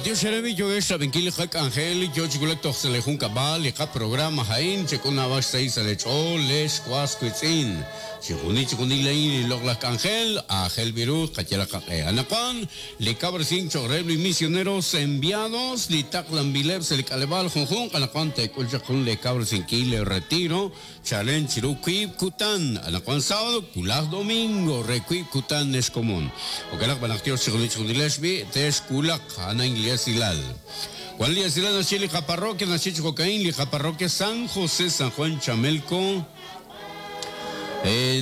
B'antiox eere b'i' yookex xrab'inkil li qak'anjel, yoo chi wulak toj sa' lee junkab'al, li qaprograma a'in, chek'ul naab'al xsahil sa' lee ch'ool, lex was wiitz'in. Chijunil chijunil a'in li loq'laj k'anjel, aajel b'i' ru qayalaq qaq'e. Anaqwan, li kawresink choq' reheb' li misioneros enviados li taqlanb'ileb' sa' li k'aleb'aal junjunq, anaqwan teek'ul chaq jun lee kawresinkil lee retiro chalen chiru wiib' kutan, anaqwan sábado, wulaj domingo re wiib' kutan ex komon. Jo'kan naq b'an naq Dios chijunil chijunilex b'i' texwulaq, a'an a'in li esilal. Wan li esilal naxye li qaparroquia naxye chi jo'ka'in, li qaparroquia San José San Juan Chamelco,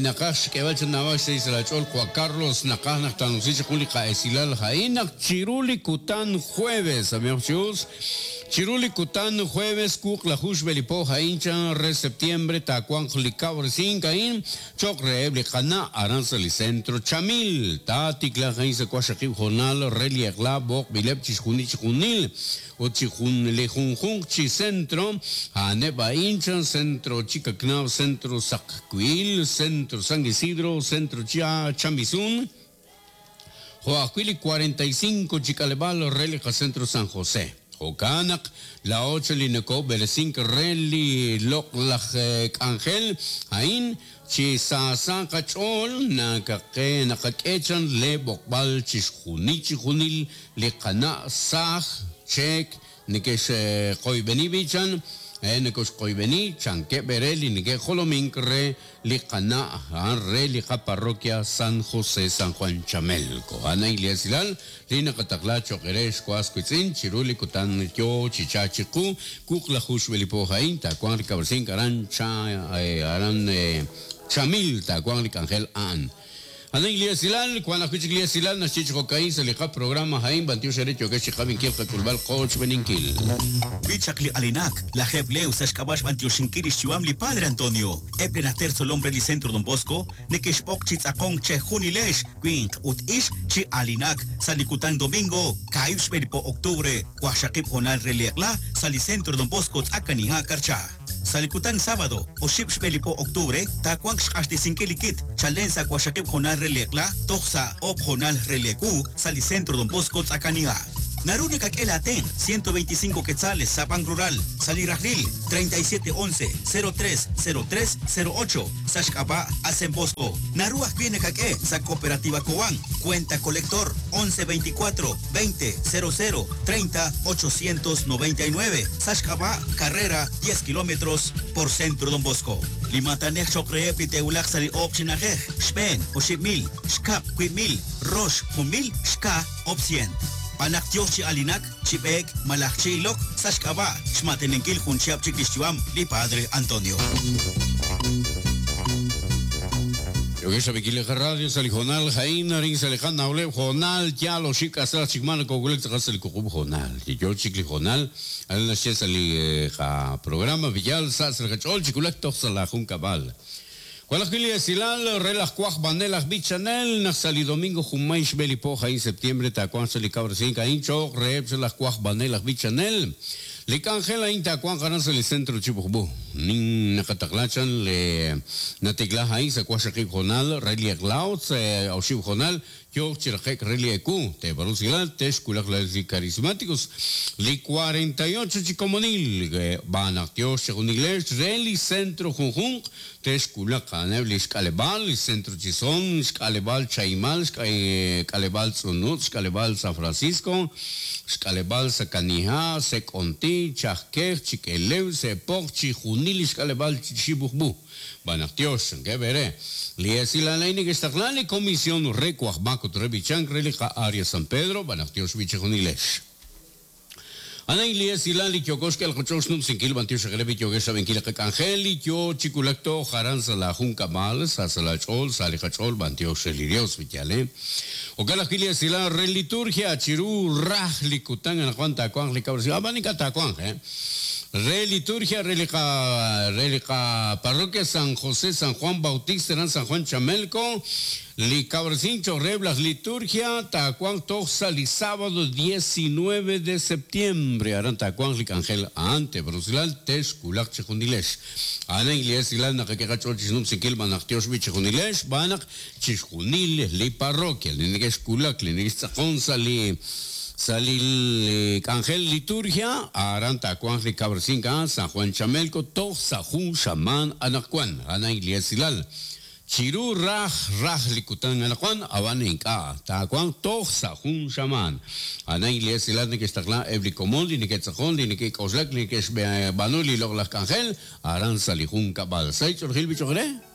Naqaj xk'eeb'al chi naab'al xsahil sa' laach'ool, Juan Carlos, naqaj naq taanumsi chaq jun li qa'esilal a'in naq chiru li kutan jueves, ab'ihaq chi us, chiru li kutan jueves wuqlaju xb'e li po a'in chan re septiembre taawanq li kawresink a'in cho'q reheb' li qana' aran sa' li Centro Chamil. Taatiklaaq a'in sa' waqxaqib' hoonal re li eq'la b'oqb'ileb' chixjunil chijunil. Ut chi jun li junjunq chi centro, a'aneb' a'in chan Centro Chicacnab, Centro Saqwiil, Centro San Isidro, Centro Chamisun, jo' ajwi' li 45 chi k'aleb'aal re li qacentro San José. Jo'kan naq laa'o chan li nokob'eresink re li loq'laj k'anjel a'in chi saasa qach'ool nakaqe naqak'e chan le b'oqb'al chixjunil chijunil li qana' saaj cheek neke'xqoyb'eni b'i' chan, nekoxqoyb'eni chankeb' eere li neke'jolomink re li qana' a'an re li qaparroquia San José San Juan Chamelco. A'an a'in li esilal li naqataqla cho'q eere ex was wiitz'in chiru li kutan yoo chi chalk chiqu wuqlaju xb'e li po a'in taawanq li kawresink aran cha aran Chamil taawanq li k'anjel a'an. A'an li esilal, wank ajwi' chik li esilal naxye chi jo'ka'in sa' li qaprograma a'in, b'antiox eere yookex chi qab'inkil qak'ulb'al qoochb'eninkil. B'i chaq li alinak, lajeeb' leew sa' xk'ab'a' xb'antioxinkil lix yu'am li Padre Antonio. Eb' li najter tzolom re li Centro Don Bosco neke'xb'oq chi tz'aqonk chejunilex, winq ut ixq, chi alinak sa' li kutan domingo, kaahib' xb'e li po octubre, waqxaqib' hoonal re li eq'la sa' li Centro Don Bosco Tz'akaniha' Karcha. Sa' li kutan sábado, oxib' xb'e li po octubre, taawanq xq'axtesinkil li kit chalen sa' waqxaqib' hoonal re li eq'la toj sa' oob' hoonal re li ewu sa' li Centro Don Bosco Tz'akaniha'. Naru nakak'e laatenq' 125 quetzales sa' Bank Rural sa' li rajlil 37 11 03 03 08 sa' xk'ab'a' Asen Bosco. Naru ajwi' nakak'e sa' Cooperativa Cobán, cuenta colector 11 24 20 00 30 899 sa' xk'ab'a' Carrera 10 kilómetros por Centro Don Bosco. Li maatanej cho'q reheb' li te'wulaq sa' li oob' chi na'ajej, xb'een, oxib' mil, xkab', wiib' mil, rox, jun mil, xka, oob' sient. Xb'aan naq yooh chi alinak, chi b'eek malaj chi ilok sa' xk'ab'a' xmaateninkil jun chihab' chik li xyu'am li Padre Antonio. Yookex rab'inkil li qaradio sa' li hoonal a'in, arin sa' li qanawleb' hoonal yaal oxib' k'asal chik maa nokowulak tz'aqal sa' li wuqub' hoonal. Li yoo chik li hoonal, arin naxye sa' li qaprograma Villal sa' sa' li qach'ool chi wulak toj sa' laajunkab'al. Wan ajwi' li esilal re laj wajb'anel aj b'ichanel naq sa' li domingo junmay xb'e li po a'in septiembre taawanq sa' li kawresink a'in cho'q reheb' sa' laj wajb'anel aj b'ichanel. Li k'anjel a'in taawanq aran sa' li Centro Chibujb'u. Nin naqataqla chan le natikla a'in sa' waqxaqib' hoonal re li eq'la ut sa' oxib' hoonal yooq chi raqe'k re li ewu. Teeb'aanu usilal texwulaq laa'ex li Carismáticos li 48 chi komonil, b'aan naq tyox chejunilex re li centro junjunq Texwulaq a'aneb' li xk'aleb'aal, li Centro Chisón, xk'aleb'aal Chahimal, xk'aleb'aal Tz'unutz', xk'aleb'aal San Francisco, xk'aleb'aal Sakaniha', Sek'onti, Chajkej, Chik'elew, Se'poq, chijunil li xk'aleb'aal Xibujb'u. B'aan naq tyox, chankeb' eere. Li esilal a'in neke'xtaqla li Comisión re Wajb'ak ut re B'ichank re li qa-Area San Pedro, b'aan naq tyox b'i' chijunilex. A'an li esilal li yooko xk'el qach'ool xnumsinkil b'antiox reheb' li yookex xrab'inkil li qak'anjel li yoo chi wulak toj aran sa' laa junkab'al, sa' sa' laa ch'ool, sa' li qach'ool b'antiox re li Dios, yaal e. Jo'kan ajwi' li esilal re liturgia chiru raj li kutan anaqwan taawanq li kawresink, a'b'an ink'a' taawanq, e. Re liturgia re li qa re li qa parroquia San José San Juan Bautista aran San Juan Chamelco, Li kawresink cho'q reheb' laj liturgia taawanq toj sa' li sábado 19 de septiembre. Aran taawanq li k'anjel a'an, teeb'arusilal, texwulaq chejunilex. A'an a'in li esilal naqak'e qach'ool chi xnumsinkil b'an naq tyox b'i' chejunilex, xb'aan naq chixjunil li parroquia li neke'xwulak, li neke'xtz'aqon sa' li Sa' li k'anjel liturgia, aran taawanq li kawresink a'an San Juan Chamelco toj sa' jun xamaan anaqwan, a'an a'in li esilal. Chiru raj raj li kutan anaqwan, ab'an ink'a', taawanq toj sa' jun xamaan. A'an a'in li esilal neke'xtaqla eb' li komon li neke'tz'aqon, li neke'k'oxlak, li neke'xb'aanu li loq'laj k'anjel aran sa' li junkab'al. Sa' li ch'oolejil b'ich'oq re.